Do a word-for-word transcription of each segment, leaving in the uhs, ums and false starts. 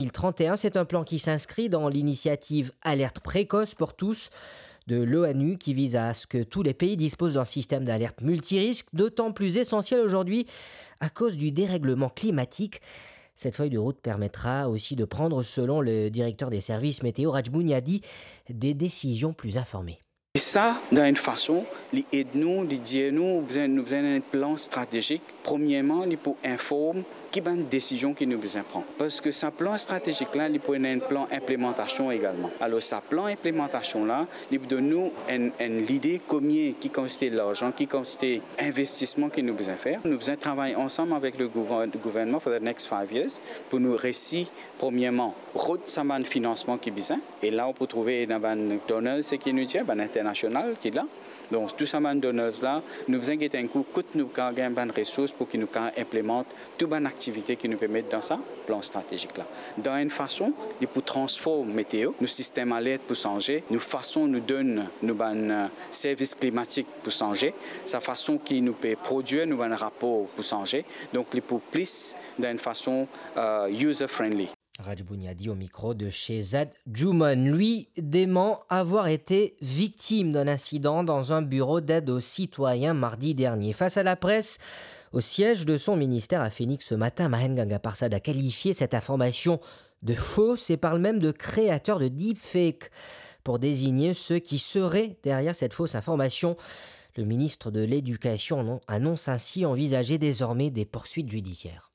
mil trant e enn. C'est un plan qui s'inscrit dans l'initiative Alerte précoce pour tous de l'ONU, qui vise à ce que tous les pays disposent d'un système d'alerte multirisque, d'autant plus essentiel aujourd'hui à cause du dérèglement climatique. Cette feuille de route permettra aussi de prendre, selon le directeur des services météo, Raj Buniadi, des décisions plus informées. E sa, dan enn fason, li ed nou, li dir nou, nou bizin, nou bizin enn plan stratezik. Premierman, li pou inform ki bann desizion ki nou bizin pran. Parski sa plan stratezik la, li pou ena enn plan inplemantasion egalman. Alor, sa plan inplemantasion la, li pou donn nou enn, enn lide konbien, ki kantite larzan, ki kantite investisman ki nou bizin fer. Nou bizin travay ansam avek le gouver-, gouvernman for the next five years pou nou resi, premierman, rod sa bann finansman ki bizin. E la, ou pou trouve dan bann donors, seki nou dir, bann internasional ki la. Donk, tou sa bann donors la, nou bizin get enn kou kot nou kapav gagn bann resours pou ki nou kapav inplemant tou bann aktivite ki nou pe met dan sa plan stratezik la. Dan enn fason, li pou transform meteo, nou sistem alert pou sanze, nou fason nou donn nou bann, eh, servis klimatik pou sanze, sa fason ki nou pe prodwir nou bann rapor pou sanze. Donk, li pou plis dan enn fason, eh, user friendly. Raj Buniadi au micro de Shehzad Juman. Lui dément avoir été victime d'un incident dans un bureau d'aide aux citoyens mardi dernier. Face à la presse, au siège de son ministère à Phoenix ce matin, Mahen Ganga Parsad a qualifié cette information de fausse et parle même de créateur de deepfake pour désigner ceux qui seraient derrière cette fausse information. Le ministre de l'Éducation annon-, annonce ainsi envisager désormais des poursuites judiciaires.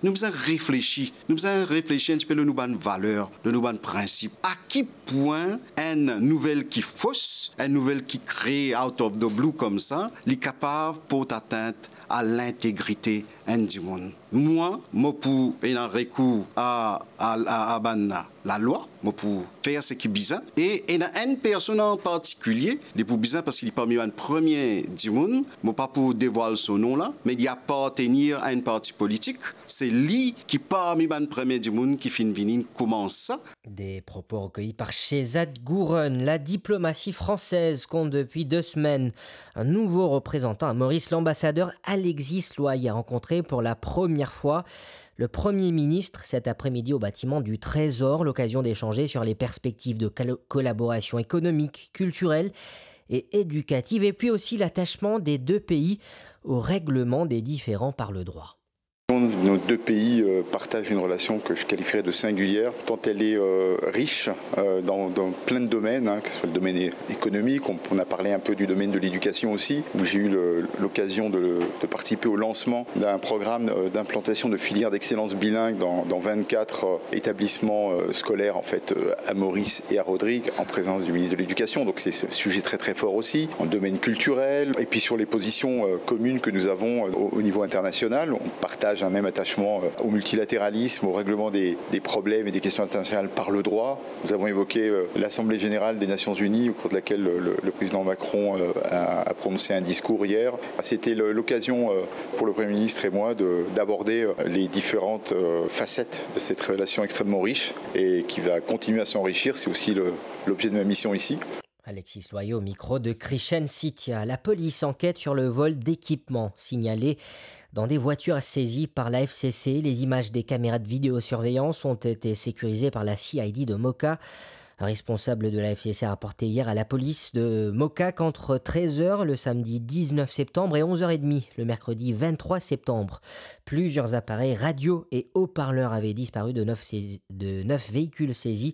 Nou bizin reflesi, nou bizin reflesi enn tipe lor nou bann valer, lor nou bann prinsip. A ki pwin enn nouvel ki fos, enn nouvel ki kree out of the blue koumsa, li kapav port atint a lintegrite enn dimoun? Mwa, mo pou ena rekour a, a, a, a bann lalwa, mo pou fer seki bizin. E ena enn personn an partikilie, li pou bizin, parski li parmi bann premie dimoun, mo pa pou devwal so non la, me li apartenir a enn parti politik. Se li ki parmi bann premie dimoun ki finn vini koumans sa. Des propos recueillis par Shehzad Gurun. La diplomatie française compte depuis deux semaines un nouveau représentant à Maurice. L'ambassadeur Alexis Loyer a rencontré pour la première fois le Premier ministre cet après-midi au bâtiment du Trésor, l'occasion d'échanger sur les perspectives de col-, collaboration économique, culturelle et éducative, et puis aussi l'attachement des deux pays au règlement des différends par le droit. Nos deux pays, euh, partagent une relation que je qualifierais de singulière, tant elle est, euh, riche, euh, dans, dans plein de domaines, hein, que ce soit le domaine économique, on, on a parlé un peu du domaine de l'éducation aussi, où j'ai eu le, l'occasion de, de participer au lancement d'un programme, euh, d'implantation de filières d'excellence bilingues dans, dans vingt-quatre, euh, établissements, euh, scolaires, en fait, euh, à Maurice et à Rodrigues, en présence du ministre de l'Éducation. Donc c'est ce sujet très, très fort aussi, en domaine culturel, et puis sur les positions, euh, communes que nous avons, euh, au, au niveau international. On partage un même attachement, euh, au multilatéralisme, au règlement des, des problèmes et des questions internationales par le droit. Nous avons évoqué, euh, l'Assemblée générale des Nations Unies, au cours de laquelle le, le, le président Macron, euh, a, a prononcé un discours hier. C'était le, l'occasion, euh, pour le Premier ministre et moi de, d'aborder, euh, les différentes, euh, facettes de cette relation extrêmement riche et qui va continuer à s'enrichir. C'est aussi le, l'objet de ma mission ici. Alexis Loyer au micro de Krishen Sitia. La police enquête sur le vol d'équipements signalé dans des voitures saisies par la F C C. Les images des caméras de vidéosurveillance ont été sécurisées par la C I D de Moka. Un responsable de la F C C a rapporté hier à la police de Moka qu'entre treize heures le samedi dix-neuf septembre et onze heures et demie le mercredi vingt-trois septembre, plusieurs appareils radio et haut-parleurs avaient disparu de neuf saisis, de neuf véhicules saisis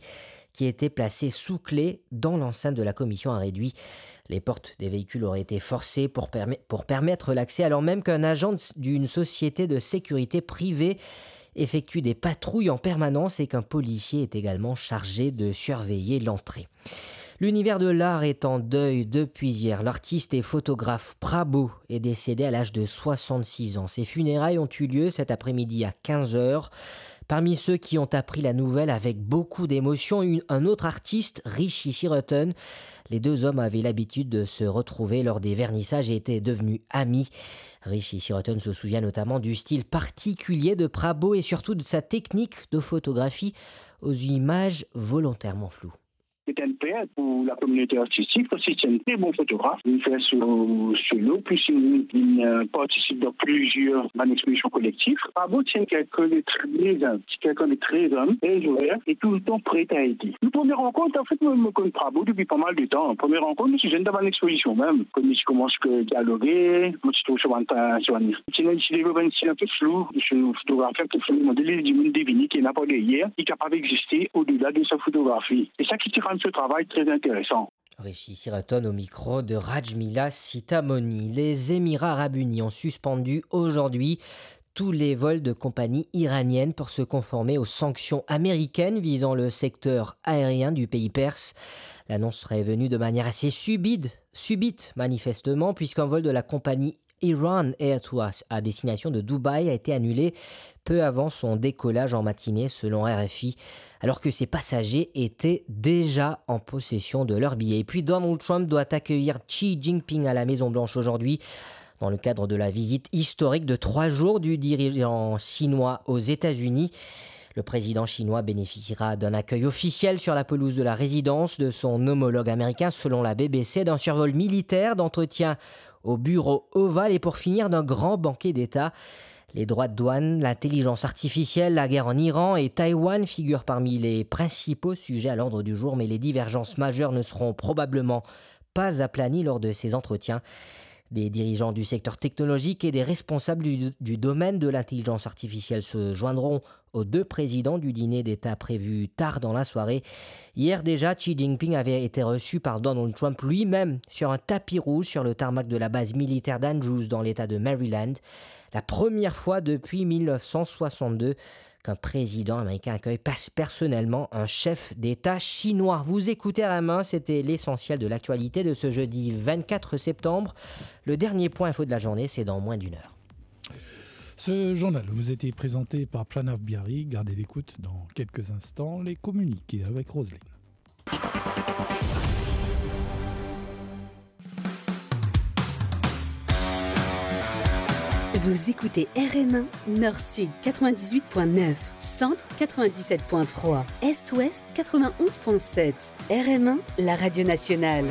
qui étaient placés sous clé dans l'enceinte de la commission, a réduit. Les portes des véhicules auraient été forcées pour permet-, pour permettre l'accès, alors même qu'un agent de s-, d'une société de sécurité privée effectue des patrouilles en permanence et qu'un policier est également chargé de surveiller l'entrée. L'univers de l'art est en deuil depuis hier. L'artiste et photographe Prabo est décédé à l'âge de soixante-six ans. Ses funérailles ont eu lieu cet après-midi à quinze heures. Parmi ceux qui ont appris la nouvelle avec beaucoup d'émotion, une, un autre artiste, Rishi Siroten. Les deux hommes avaient l'habitude de se retrouver lors des vernissages et étaient devenus amis. Rishi Siroten se souvient notamment du style particulier de Prabo et surtout de sa technique de photographie aux images volontairement floues. C'est une perte pour la communauté artistique, parce que c'est un très bon photographe. Il fait solo, solo, puis il, il, euh, participe dans plusieurs, euh, expositions collectives. Prabodh, c'est quelqu'un de très humble, c'est quelqu'un de très humble, très ouvert et tout le temps prêt à aider. Notre première rencontre, en fait, moi, je connais Prabodh depuis pas mal de temps. Première rencontre, c'est jeune dans l'exposition même. Quand il commence que dialoguer, moi, je trouve sur un, sur un, c'est une, c'est une, un peu flou, c'est une photographie un peu floue. Moi, je lui dis, deviner qu'il n'a pas derrière, il est capable d'exister au-delà de sa photographie. C'est ça qui rend ce travail très intéressant. Rishi Sheraton au micro de Rajmila Sitamoni. Les Émirats arabes unis ont suspendu aujourd'hui tous les vols de compagnies iraniennes pour se conformer aux sanctions américaines visant le secteur aérien du pays perse. L'annonce serait venue de manière assez subite, subite manifestement, puisqu'un vol de la compagnie Iran Air Tours à destination de Dubaï a été annulé peu avant son décollage en matinée, selon R F I, alors que ses passagers étaient déjà en possession de leur billet. Et puis Donald Trump doit accueillir Xi Jinping à la Maison-Blanche aujourd'hui, dans le cadre de la visite historique de trois jours du dirigeant chinois aux États-Unis. Le président chinois bénéficiera d'un accueil officiel sur la pelouse de la résidence de son homologue américain, selon la B B C, d'un survol militaire, d'entretien au bureau ovale et pour finir d'un grand banquet d'État. Les droits de douane, l'intelligence artificielle, la guerre en Iran et Taïwan figurent parmi les principaux sujets à l'ordre du jour, mais les divergences majeures ne seront probablement pas aplanies lors de ces entretiens. Des dirigeants du secteur technologique et des responsables du, du domaine de l'intelligence artificielle se joindront aux deux présidents du dîner d'État prévu tard dans la soirée. Hier déjà, Xi Jinping avait été reçu par Donald Trump lui-même sur un tapis rouge sur le tarmac de la base militaire d'Andrews dans l'État de Maryland. La première fois depuis mille neuf cent soixante-deux qu'un président américain accueille pas-, personnellement un chef d'État chinois. Vous écoutez R M un, c'était l'essentiel de l'actualité de ce jeudi vingt-quatre septembre. Le dernier point info de la journée, c'est dans moins d'une heure. Ce journal vous était présenté par Pranav Biari. Gardez l'écoute dans quelques instants, les communiqués avec Roselyne. Vous écoutez R M un, Nord-Sud quatre-vingt-dix-huit point neuf, Centre quatre-vingt-dix-sept point trois, Est-Ouest quatre-vingt-onze point sept. R M un, la radio nationale.